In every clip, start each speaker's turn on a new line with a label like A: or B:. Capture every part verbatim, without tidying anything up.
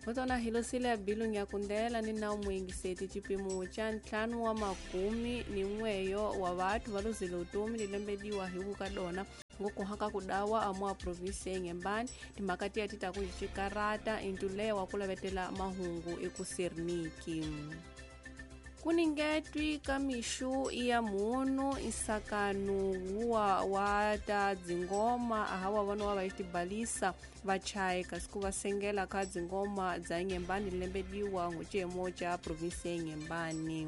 A: Votona hilosile bilung ya kundela ni na muyingiseti chipimo cha ntlhanu wa makumi ni n'weyo wa vathu va luzile utomi lilembediwa hi vukadona ngokuhaka kudawa amwa provinsi ya Inhambane timhaka tiya ti ta ku xikarata intulewa ku lavetela mahungu ekuserniki. Kuningetwi ka mixu ya munhu insakanu wa wa ta dzingoma ahawa vana wa vaitibalisa vachaye kasi ku va sengela ka dzingoma dza Inhambane lembediwa ngucemo cha provinsi ya Inhambane.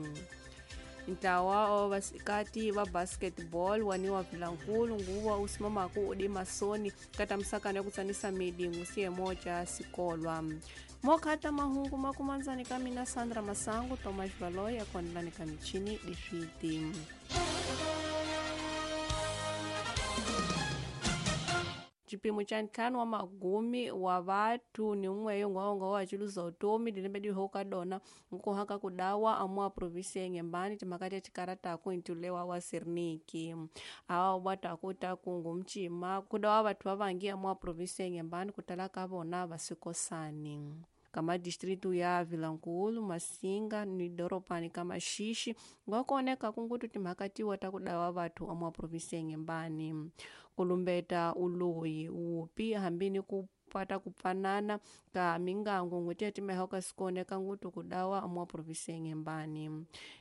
A: Ntlawa wa vasikati va basketball waniwa Vilankulu nguva usimamaku udi masoni kata msakano ya kutsanisa midi ngusiemo cha sikolwa. Mokata mahungu makumanzani kamina Sandra Masangu Thomas Valoya kondlani kamichini difiti. Chipimo cha ntlhanu wa magumi wa vathu ni n'weyo ngwongo wa chiluza utomi lilembedi hoka dona nkuhaka kudawa amwa provinsi ya Inhambane timhaka ta chikarata intulewa wa Serniki. Awa bwata kuta kungu mchima kudawa vathu vavangi amwa provinsi ya Inhambane kutala ka vona vasikosani. Kama distritu ya Vilankulu, Masinga ni doropani kama Shishi ngwakuoneka kungutu timhaka tiwa ta kudawa vathu amwa provinsi ya Inhambane. Kulumbeta uloyi upi hambini ku pata kupfanana ka mingango ngwetiya timehoka sikoneka ngutu kudawa amwa provinsi ya Inhambane.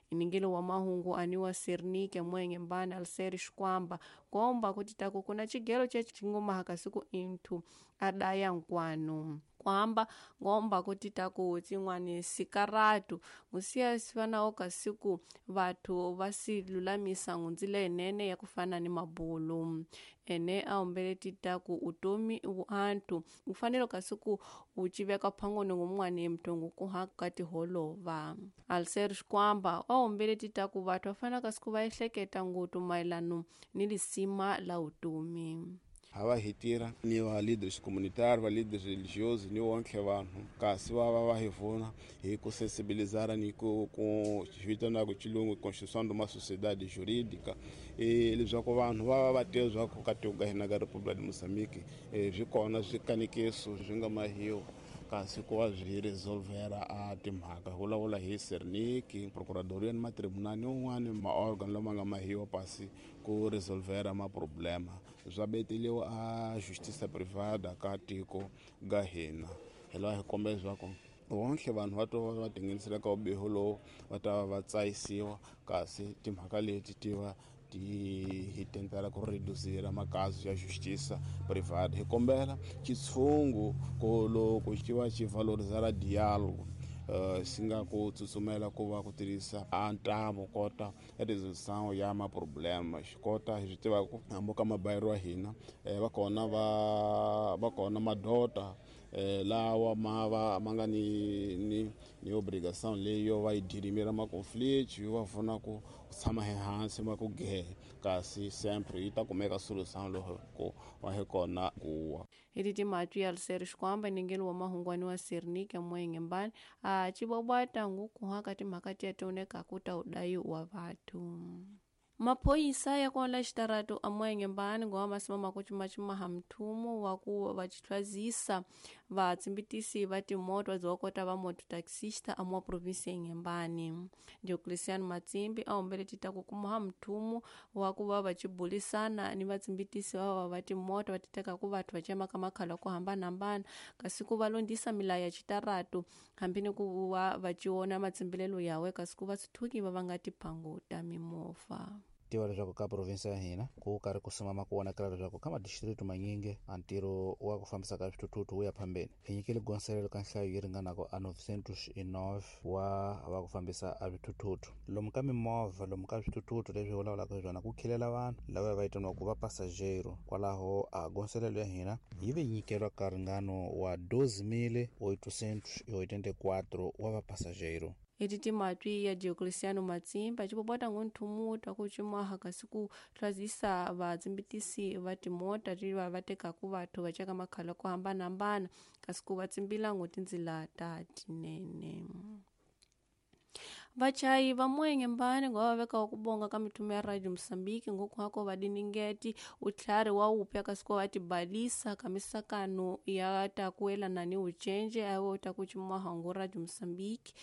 A: Iningilo wa mahungu aniwa Sernike mwe Inhambane Alseri Shikwamba komba kuti taku kuna chigelo che chingoma hakasiku inthu adaya nkwanu. Kwamba ngomba kuti taku tsin'wani sikaratu ngusiya sifanawo kasiku vathu va silulamisa ngundzila enene ya kufana ni mabulu ene aombele titaku utomi uanthu ufanele kasiku uchiveka phangoni ngumwani mntu ngukuhaka tiholova. Alser Shikwamba waombele titaku vathu vafana kasiku va ehleketa ngutu maelano ni lisima la utomi.
B: Hava hitira ni va leaders comunitários, va líderes religiosos, ni wonke vanhu kasi va va va hi pfuna hi ku sensibilizar ni ku ku vitana ku chilungu construção de uma sociedade jurídica e leswaku vanhu va va va tiva leswaku ka tiko ka hina ka República de Moçambique swi kona swikanekiso swi nga mahiwa kasi ku va swi resolvera a timhaka vulavula hi Serniki, procuradoria ni matribunali un'wana maorgan lama nga mahiwa pasi ku resolvera maproblema swa beteliwa a justiça privada ka tiko ga hina. Hi laha hi kombela leswaku wonke vanhu va to va tinghenisela ka vubihi lowu va ta va va tsayisiwa kasi timhaka leti ti va ti hi tentela ku reducir makaso ya justiça privada. Hi kombela xitshungu ku loko xi va xi valorizara diálogo Uh, xi nga ku tsutsumela ku va ku tirhisa a ntambu kota resolução ya maproblema xi kota hi swi tiva ku hambi ka mabayiro wa hina va kona va va kona madota eh, lawa ma va ma nga ni ni ni obrigação leyo va yi dirimira maconflito yo va pfuna ku tshama ehansi ma ku gehe kasi sempre yi ta kumeka solução loko ku va hi kona kuwa.
A: Hi timatwi ya Alseri Shikwamba ningeni wa mahungwani wa Sernike mwe Inhambane a chibobwata ngukuhaka timhaka tiya tioneka kuta udayi wa vathu. Maphoyisa ya kuonla xitaratu amwe Inhambane ngowa masimama ku cimacimaha mthumu wa ku va chithwazisa vatsimbitisi va timoto va va mototaxista amwa provinsi ya Inhambane. Diocleciano Matsimbi a ombele tita ku kumaha mthumu wa ku va va chibulisana ni vatsimbitisi va va va timoto va titeka ku vathu va cemaka makhala ku hambanahambana kasi ku va londisa milayo ya xitaratu hambi ni ku va va ciona matsimbilelo yawe kasi ku va sithuki va va nga tiphangu ta mimovha.
C: Tiva leswaku ka provinsi ya hina ku karhi ku simama ku vonakala leswaku ka madistritu manyingi a ntirho wa ku fambisa ka swithuthuthu wu ya phambeni. Hi nyikile gonselelo ka nhlayo yi ringanaka a novecentos e nove wa va ku fambisa a swithuthuthu lomu ka mimovha lomu ka swithuthuthu leswi vulavulaka hi swona ku khilela vanhu lava va vitaniwaka va passageiro. Kwalaho a gonselelo ya hina yi ve nyikelwa ka ringano wa doze mil oitocentos e oitenta e quatro wa va passageiro.
A: Eti timatwi ya Diocleciano Matsimba chipopota ngonthumu ku cimaha kasi ku hlwazisa vatsimbitisi va timota tiva va tekaku vathu va ceka makhala ku hambanahambana kasi ku va tsimbila ngo tindzila ta tinene. Vachayi va Inhembane ngo va veka ku bonga ka mitume ya Radio Mozambique ngokuhako vadiningeti utlhari wa upya kasi ko va tibalisa ka misakano ya ta kuelana ni ucenje awo ta kuchimwa hangu Radio Mozambique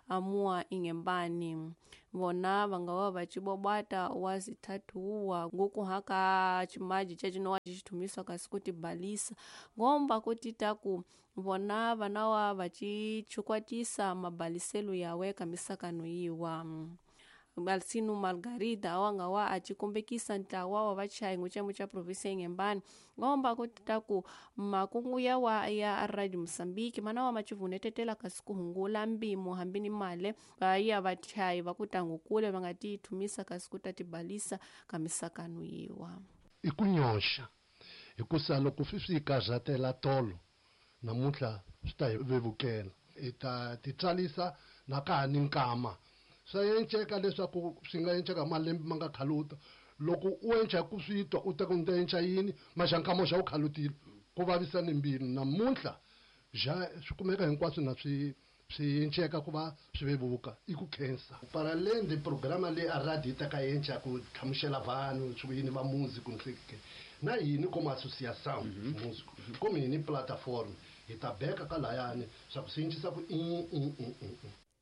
A: amua Inhembane. Vona vanga va vachibobata wa zithathuwa ngokuhaka chimaji chachinowa chichithumiswa kasi kutibalisa ngomba kuti taku vona vanawa vachichukwatisa mabaliselo yawe ka misakano yiwa. Alcino Margarida awanga wa achikombekisa ntlawa wa vachayi nguchemo cha provinsi ya Inhembane ngomba kuti taku makungu yawa ya Radio Mozambique mana wa machivunetetela kasi kuhungula mbimo hambi ni male ya vachayi vakutangu kule vangatithumisa kasi kutatibalisa ka misakano yiwa.
D: I ku nyoxa hikusa loko swi swi karhatela tolo namuntlha swi ta hi vevukela hi ta titsalisa na ka ha ni nkama swa enceka leswaku swi nga enceka malembe ma nga khaluta loko u enca ku swi twa u ta ku ni ta enca yini maxankamo xa u khalutile ku vavisa ni mbilu namuntlha xa swi kumeka hinkwaswo na swi swi enceka ku va swi vevuka i ku khensa para além de programa leyi a radio yi ta ka enca ku hlamusela vanhu swi yini va músico nhleke na yini como associação músico como yini plataforma hi ta beka ka layani swa ku swi encisa ku i i i i.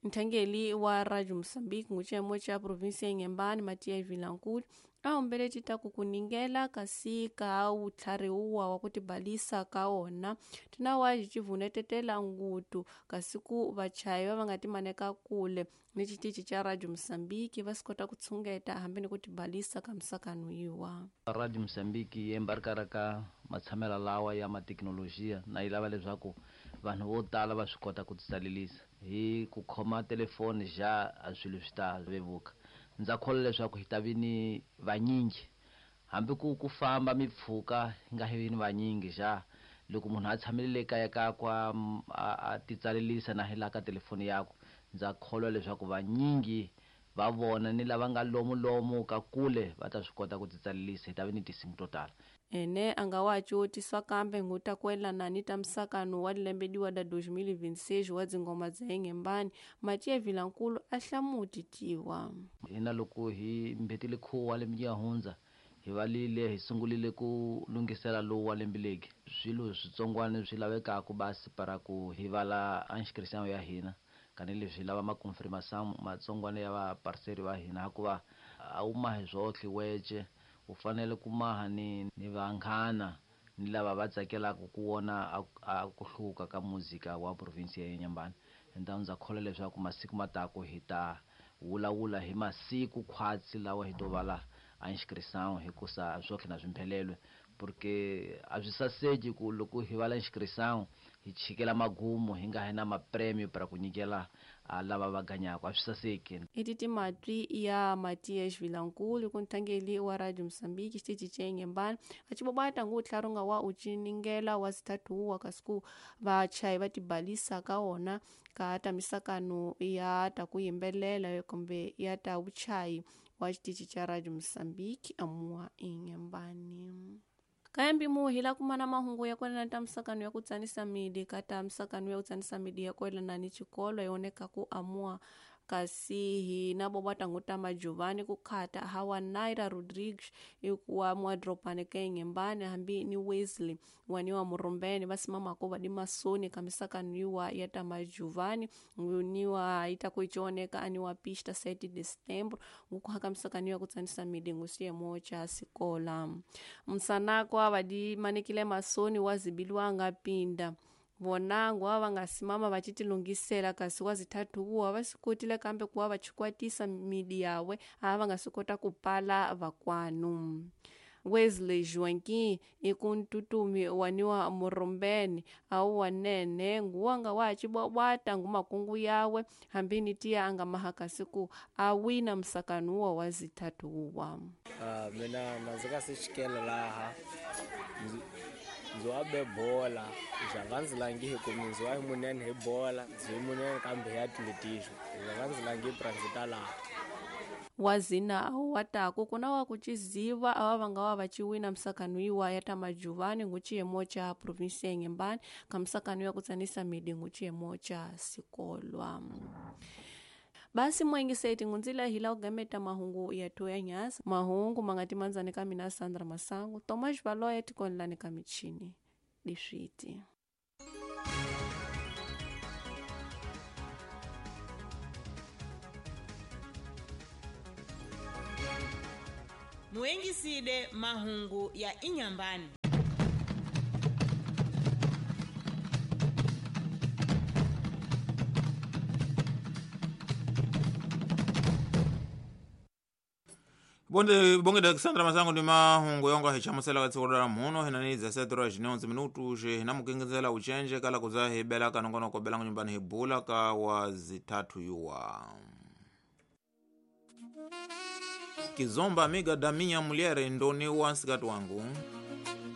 A: Nthangeli wa Radio Mozambique nguchemo cha provinsi ya Inhembane Matias Vilankulu a humbele titaku kuningela kasi ka utlhariwa wa kutibalisa ka ona tinawa chichivunetetela ngutu kasi ku vachayi va nga timaneka kule ni xitichi cha Radio Mozambique va swi kota ku tshungeta hambi ni ku tibalisa ka misakano yiwa.
E: Radio Mozambique yi embarkara ka matshamela lawa ya mathekinolojiya na yi lava leswaku vanhu vo tala va swi kota ku titsalelisa hi ku khoma telefoni ja a swilo swi ta vevuka. Ndza kholwa leswaku hi ta vi ni vanyingi hambi ku ku famba mipfhuka hi nga vi ni vanyingi ja loko munhu a tshamile le kaya ka kwa a titsalelisa na hi la ka telefoni yakwe ndza kholwa leswaku vanyingi va vona ni lava nga lomu lomu ka kule va ta swi kota ku titsalelisa hi ta vi ni tinsimu to tala.
A: Ene a nga wa cutiswa kambe nguta kuelana ni ta misakano wa lembe diwa da dois mil e vinte e seis wa dzingoma dza Inhembane Matias Vilankulu a hlamuti tiwa.
E: Hina loko hi mbetile khuwa lembe ya hundza hi valile hi sungulile ku lunghisela lowu wa lembe legi swilo switsongwana swi lavekaka basi para ku hi vala inscription ya hina kanileswi lava ma confirmation matsongwana ya va parceri va hina hikuva a wu mahi swotlhe wece u fanele ku maha ni ni vanghana ni lava va tsakelaka ku vona a ku hluka ka muzika wa provinsi ya Inhembane. Então ndza kholwa leswaku masiku matako hi ta vulavula hi masiku khwatsi lawa hi to vala a inscription hikusa swotlhe na swimphelelwe porque a swi saseki ku loko hi vala inscription hi chikela magumu hi nga hi na mapremio para ku nyikela lava va ganyaka a swi saseki.
A: I timatwi ya Matias Vilankulu ku nthangeli wa Radio Mozambique xitichi cha Inhembane a chibobata ngu tlharunga wa uciningela wa zithathuwa kasi ku vachayi va tibalisa ka wona ka ta misakano ya ta ku yimbelela kumbe ya ta vuchayi wa xitichi cha Radio Mozambique amua Inhembane. Kayambi muhi la kumana mahungu ya kwelana ta misakano ya kutsanisa midi kata misakano ya kutsanisa midi ya kwelana ni chikolo yoneka ku amua kasi hi na bobata nguta majuvani kukhata hawa Naira Rodrigues ikuwa mwadropane ka Inhembane hambi ni Wesley waniwa Murumbeni vasimama ko vadi masoni kamisakano yiwa ya ta majuvani niwa itakuichoneka aniwa pista sete de setembro ngukuhaka misakano ya kutsanisa midi ngusiyemo cha sikola msanako vadi manikile masoni wazibilwanga pinda vonango ava nga simama vachitilungisela kasi wa zithathu kuwa va swi kotile kambe kuwa va chikwatisa midi yawe a va nga swi kota ku pala vakwanu. Wesley Joaquim i ku ntutumi waniwa Murumbeni awu wanene nguwanga wa chibwabwata ngu makungu yawe hambi ni tiya anga mahakasi ku awina msakano wa wa zithathu uwa.
F: Uh, mina ndzi ka sixikelo laha ndzi wa be bola ndzi nga ndzi langi hi ku ndzi wa munene hi bola ndzi munene kambe hi atletismo ndzi nga ndzi langi pra ndzi ta laha.
A: Wazina awu wataku kuna wa kuchiziva awa vanga wa vachiwina msakano iwa ya ta majuvani nguchiyemo cha provinsi ya Inhembane ka msakano ya kutsanisa midi nguchiyemo cha sikolwa. Basi mwengiseti ngunzila hila ugameta mahungu yatu ya nyasa mahungu mangati manzani kamina Sandra Masango Tomas Valoya tikonlani kamichini diswiti.
G: Muengiside mahungu ya Inyambani.
H: Bonde bonge Alexandra Masango ndi mahungu yonga hichamusela katsikodala muno hinani dezessete horas e onze minutos hinamukengezela uchenje kala kuza hibela kanongonoko belango nyumbani hibula ka wa zitatu yuwa Kizomba amiga da minha mulher ndoni wansikati wangu.